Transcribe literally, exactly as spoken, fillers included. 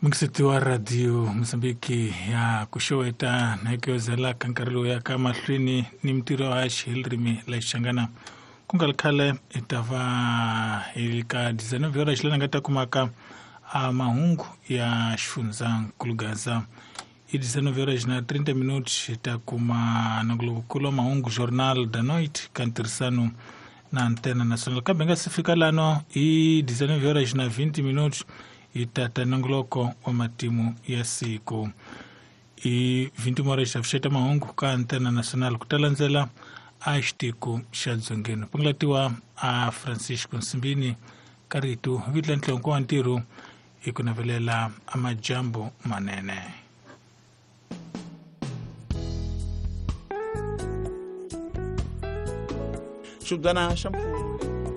Mukiseti wa radio Mozambique ya kuxoweta na ku ka nkarhi lowu yaka mahlweni ni mintirho ya xirimi la Xichangana ku nga ri khale hi ta va hi ka design viola xilana nga ta kumaka a mahungu ya xifundzankulu Gaza i design viola na thirty minutes hi ta kuma nongolokulu wa mahungu Journal da Noite ka ntirhisano na Antena Nacional kambe nga si fika lano i design viola na twenty minutes hi tata nongoloko wa matimu ya siku i twenty horas xa fuxeta mahungu ka Antena Nacional ku ta landzela a xitiko xa dzongeni pungulatiwa a Francisco Nsimbini ka rito vitla ntlonko wa ntirho hi ku navelela a majambu manene. Xibdana xa mpfula.